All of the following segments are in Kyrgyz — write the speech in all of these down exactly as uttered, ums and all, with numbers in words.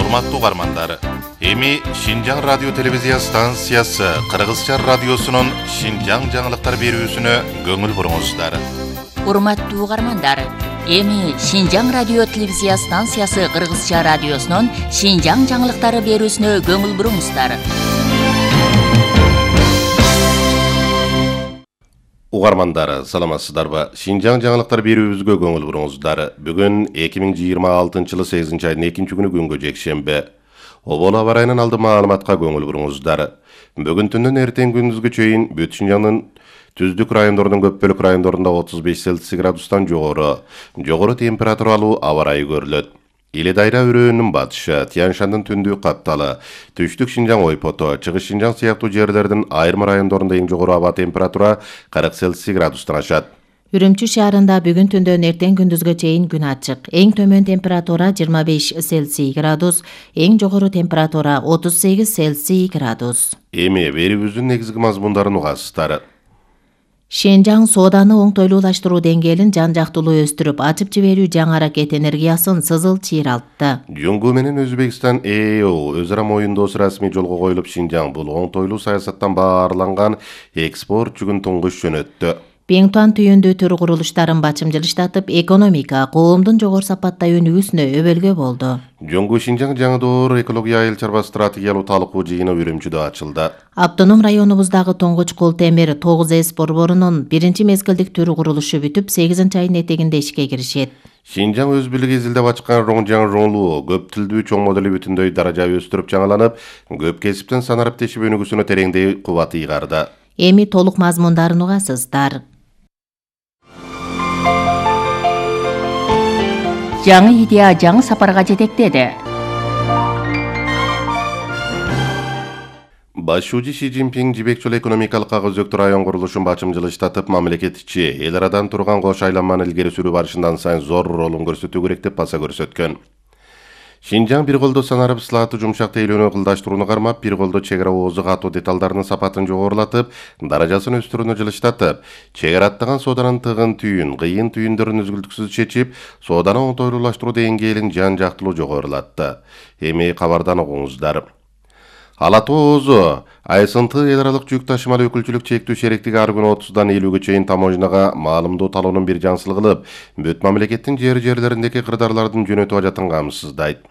Урматтуу угармандар, эми Шинжаң радио телевизия станциясы Кыргызча радиосунун Шинжаң жаңылыктар берүүсүнө көңүл буруңуздар. Урматтуу угармандар, эми Шинжаң радио телевизия станциясы Кыргызча радиосунун Шинжаң жаңылыктары берүүсүнө көңүл буруңуздар. Угармандар, саламатсыздарбы? Шинжаң жаңылыктар берүүбүзгө көңүл буруңуздар. Бүгүн эки миң жыйырма алтынчы жылы сегизинчи айдын экинчи күнү күнгө жекшемби. Обол аба ырайынан алды маалыматка көңүл буруңуздар. Бүгүн түндөн эртең күндүзгө чейин бүт Шинжаңдын түздүк райондордун көп бөлүк райондорунда отуз беш Цельсий градустан жогору, жогору температуралуу аба ырайы көрүлөт. Иле Дайра өрөөнүн батышы, Тянь-Шандын түндүк капталы, түштүк Шинжаң ойпоту, чыгыш Шинжаң сыяктуу жерлердин айрым райондорунда эң жогору аба температура кырк Цельсий градустан ашат. Үрүмчү шаарында бүгүн түндөн эртең күндүзгө чейин күн ачык. Эң төмөн температура жыйырма беш Цельсий градус, эң жогору температура отуз сегиз Цельсий градус. Эми берүүбүздүн негизги мазмундарын угасыздар. Шинжаң сооданы оңтойлуулаштыруу деңгээлин жан-жактуулуу өстүрүп, ачып жиберүү жаңы аракет энергиясын сызыл чыйралтты. Жуңгу менен Өзбекстан Э Э О өз ара моюндоосу расмий жолго коюлуп, Шинжаң бул оңтойлуу саясаттан баарланган экспорт жүгүн туңгуш жөнөттү. Пеңтуан түйүндүү төр курулуштарын бачымчылыштатып, экономика, коомдун жогору сапаттай өнүгүүсүнө өбөлгө болду. Жуңгу Шинжаң жаңы доор экология айыл чарба стратегиялуу талкуу жыйыны Үрүмчүдө ачылды. Автоном районубуздагы Тоңгуч кол темир тогуз эс борборунун биринчи мезгилдик төр курулушу бүтүп, сегизинчи айдын этегинде ишке киришет. Шинжаң өз бийлиги изилдеп ачкан Роңжаң ролу көп тилдүү чоң модели бүтүндөй даража өстүрүп жаңыланып, көп кесиптен санарып тешип өнүгүүсүнө тереңдей кубат ыйгарды. Эми толук мазмундарын угасыздар. Жаңы идея жаңы сапарга жетектеди. Башчы Си Цзиньпин жибек жолу экономикалык өзөктүү район курулушун бачымчылыштатып, мамлекет ичи эл арадан турган кош айланманы илгери сүрүү барышынан сайын зор ролун көрсөтүү керек деп баса көрсөткөн. Шинжаң бир колдо санарып ысылаатты жумшак тейлөөнү кылдаштырууну кармап, бир колдо чек ара оозу катуу деталдарынын сапатын жогорулатып, даражасын өстүрүүнү жылыштатып, чек ара аттаган сооданын тыгын түйүн, кыйын түйүндөрүн үзгүлтүксүз чечип, сооданы оңтойлуулаштыруу деңгээлин жан-жактылуу жогорулатты. Эми кабардан угуңуздар. Ала Тоо оозу Айсынты эл аралык жүк ташымалы өкүлчүлүк чектүү шериктиги ар күнү отуздан элүүгө чейин таможняга маалымдоо талоонун бир жансыл кылып, бүт мамлекеттин жер-жерлериндеки кырдаарлардын жөнөтүп ажатын камсыздайт.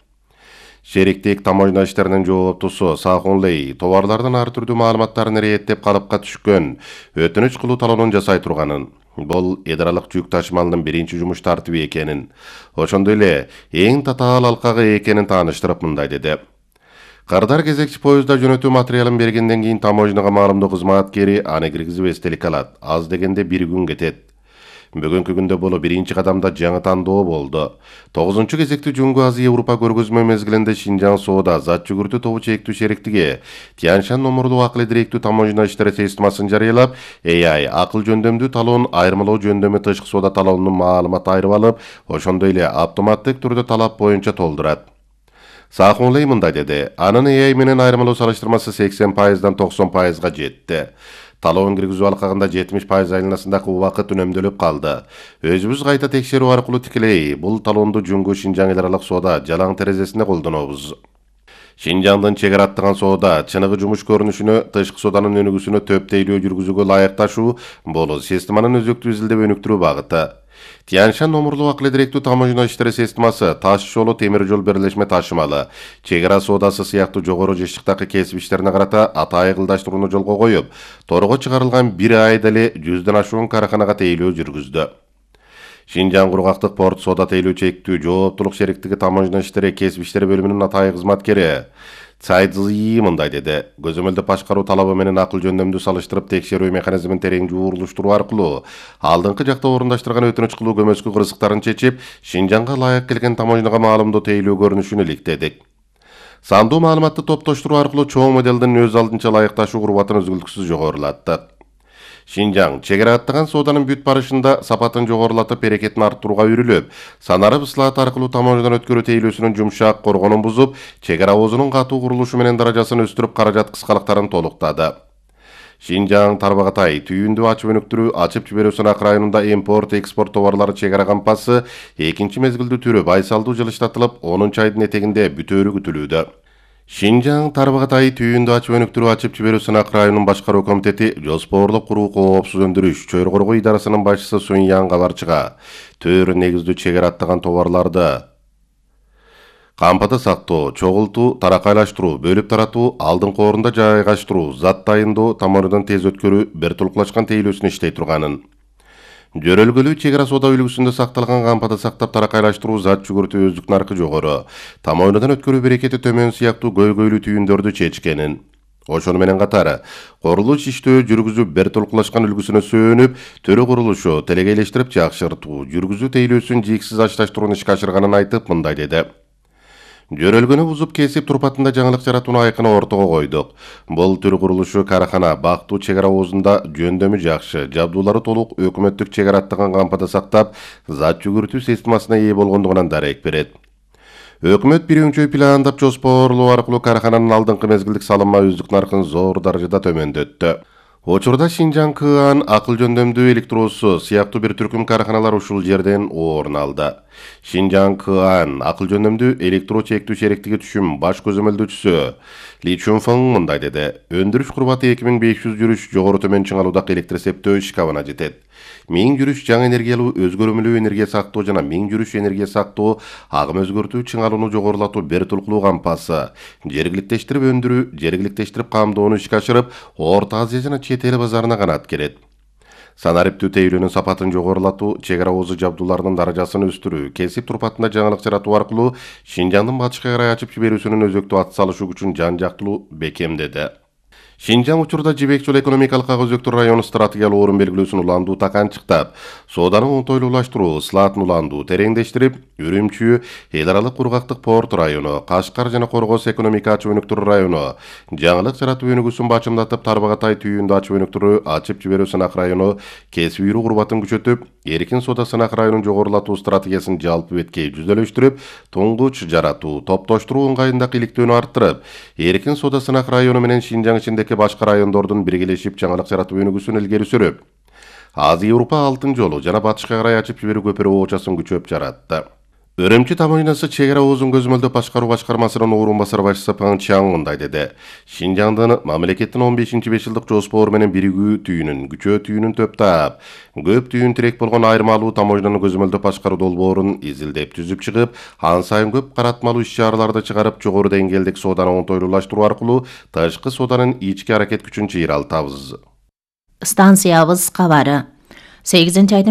Шериктик таможня иштеринин жооптусу Сахун Лей товарлардын ар түрдүү маалыматтарын ирэеттеп калыпка түшкөн, өтүнүч кылуу талоонун жасай турганын, бул эл аралык жүк ташымалынын биринчи жумуш тартиби экенин, ошондой эле эң татаал алкагы экенин тааныштырып мындай деди. Кырдар кезекчи поездда жөнөтүү материалын бергенден кийин таможняга маалымдоо кызматкери аны киргизип эстелик алат. Аз дегенде бир күн кетет. Бүгүнкү күндө бул биринчи кадамда жаңы тандоо болду. тогузунчу кезекти Жуңгу Азия Европа көргөзмө мезгилинде Шинжаң соода зат жүгүртүү тобу чектүү шериктиги Тянь-Шань номурлуу акыл директүү таможня иштери системасын жарыялап, А I акыл жөндөмдүү талоон айырмалоо жөндөмү тышкы соода талоонунун маалымат айырып алып, ошондой эле автоматтык түрдө талап боюнча толдурат. Сахун Лей мындай деди. Анын А I менен айырмалоо салыштырмасы сексен пайыздан токсон пайызга жетти. Талоон киргизүү алкагында жетимиш пайыз айланасындагы убакыт үнөмдөлүп калды. Өзүбүз кайта текшерүү аркылуу тикелей бул талоонду Жуңгу Шинжаң эл аралык соода жалаң терезесинде колдонобуз. Шинжаңдын чек ара аттаган соода чыныгы жумуш көрүнүшүнө, тышкы сооданын өнүгүүсүнө төп тейлөө жүргүзүүгө ылайыкташуу бул системанын өзөктүү изилдеп өнүктүрүү багыты. Тянь-Шань номурлуу акыл директүү таможня иштери системасы таш жолу темир жол берлешме ташымалы, чек ара соодасы сыяктуу жогору жыштыктагы кесип иштерине карата атайы кылдаштырууну жолго коюп, торго чыгарылган бир айда эле жүздөн ашуун караханага тейлөө жүргүздү. Шинжаң кургактык порт соода тейлөө чектүү жооптулук шериктиги таможня иштери кесип иштери бөлүмүнүн атайы кызматкери Цайдзии мындай деди. Көзөмөлдө башкаруу талабы менен акыл жөндөмдү салыштырып текшерүү механизмин терең жууруштуруу аркылуу алдыңкы жакта орундаштырган өтүнүч кылуу көмөскү кырсыктарын чечип, Шинжаңга ылайык келген таможняга маалымдоо тейлөө көрүнүшүн иликтедик. Сандуу маалыматты топтоштуруу аркылуу чоң моделдин өз алдынча ылайыкташуу курбатын үзгүлтүксүз жогорулаттык. Шинжаң чек ара аттаган сооданын бүт барышында сапатын жогорулатып, берекетин арттырууга үйрүлүп, санарып ысылаат аркылуу таможнядан өткөрүү тейлөөсүнүн жумшак коргонун бузуп, чек ара оозунун катуу курулушу менен даражасын өстүрүп, каражат кыскалыктарын толуктады. Шинжаң Тарбагатай түйүндү ачып өнүктүрүү ачып жиберүү сынак районунда импорт экспорт товарлары чек ара кампасы экинчи мезгилдүү түрү байсалдуу жылыштатылып, онунчу айдын этегинде бүтөөрү күтүлүүдө. Шинжаң Тарбагатай түйүндү ачып өнүктүрүү ачып жиберүү сынак районунун башкаруу комитети жоспорлук куруу коопсуз өндүрүш чөйрө коргоо идарасынын башчысы Суньян Кабарчыга төр негиздүү чек ара аттаган товарларды кампада сактоо, чогултуу, таракайлаштыруу, бөлүп таратуу, алдыңкы орунда жайгаштыруу, зат дайындоо, тамырдан тез өткөрүү бир тулкулашкан тейлөөсүн иштей турганын. Жөрөлгөлүү чек ара соода үлгүсүндө сакталган кампада сактап таракайлаштыруу зат жүгүртүү өздүк наркы жогору, тамойнудан өткөрүү берекети төмөн сыяктуу көйгөйлүү түйүндөрдү чечкенин. Ошону менен катары, курулуш иштөө жүргүзүп бир тулкулашкан үлгүсүнө сөөнүп, төрө курулушу телегейлештирип жакшыртуу, жүргүзүү тейлөөсүн жийиксиз ачташтырууну ишке ашырганын айтып, мындай деди. Жөрөлгөнү бузуп кесип турпатында жаңылык жаратууну айкын ортого койдук. Бул төр курулушу карахана бактуу чек ара оозунда жөндөмү жакшы, жабдуулары толук өкмөттүк чек ара аттаган кампада сактап, зат жүгүртүү системасына ээ болгондугунан дарек берет. Өкмөт бир өңчөй пландап жоспорлоо аркылуу карахананын алдыңкы мезгилдик салымма өздүк наркын зор даражада төмөндөттү. Учурда Шинжаң Кыан акыл жөндөмдүү электроосу сыяктуу бир түркүм караханалар ушул жерден орун алды. Шинжаң Кыан акыл жөндөмдүү электро чектүү шериктиги түшүм баш көзөмөлдөөчүсү Ли Чунфың мындай деди. Өндүрүш курбаты эки миң беш жүз жүрүш жогору төмөн чыңалуудагы электр эсептөө шкабына жетет. миң жүрүш жаңы энергиялуу өзгөрмөлүү энергия сактоо жана миң жүрүш энергия сактоо, агым өзгөртүү чыңалууну жогорулатуу бир тулкулуу кампасы, жергиликтештирип өндүрүү, жергиликтештирип камдоону ишке ашырып, Орто Азия жана чет эл базарына канат керет. Санариптүү тейлөөнүн сапатын жогорулатуу, чек ара оозу жабдууларынын даражасын өстүрүү, кесип турпатында жаңылык жаратуу аркылуу Шинжаңдын батышка карай ачып жиберүүсүнүн өзөктүү ат салышы күчүн жан жактылуу бекемдеди. Шинжаң учурда Жибек Жол экономикалык ага өзөктүү району стратегиялык орун белгилөөсүн уландуу таканчыктап, сооданы оңтойлуулаштыруу, ысылаатын уландуу тереңдештирип, Үрүмчү, эл аралык кургактык порт району, Кашкар жана Коргоз экономика ачып өнүктүрүү району, жаңылык жаратуу өнүгүүсүн бачымдатып, Тарбагатай түйүндү ачып өнүктүрүү, ачып жиберүү сынак району кесип үйрүү курбатын күчөтүп, эркин соода сынак районун жогорулатуу стратегиясын жалпы беткей жүзөлөштүрүп, туңгуч жаратуу, топтоштуруу ыңгайындагы иликтөөнү арттырып, эркин соода сынак району менен Шинжаң ичинде башка райондордун биргелешип жаңылык жаратуу өнүгүүсүн илгери сүрүп, Азия Европа алтын жолу жана батышка карай ачып жиберүү көпүрө оочасын күчөп жаратты. Өрөмчү тамойнасы чек ара оозун көзөмөлдөө башкаруу башкармасынын орун басар башчысы Паң Чаң мындай деди. Шинжаңдын мамлекеттин он бешинчи беш жылдык жоспору менен биригүү түйүнүн, күчөө түйүнүн төптап, көп түйүн тирек болгон айырмалуу тамойнаны көзөмөлдөө башкаруу долбоорун изилдеп түзүп чыгып, ан сайын көп каратмалуу иш-чараларды чыгарып, жогору деңгээлдик сооданы оңтойлуулаштыруу аркылуу тышкы сооданын ички аракет күчүн чыйралтабыз. Станциябыз кабары. сегизинчи айдын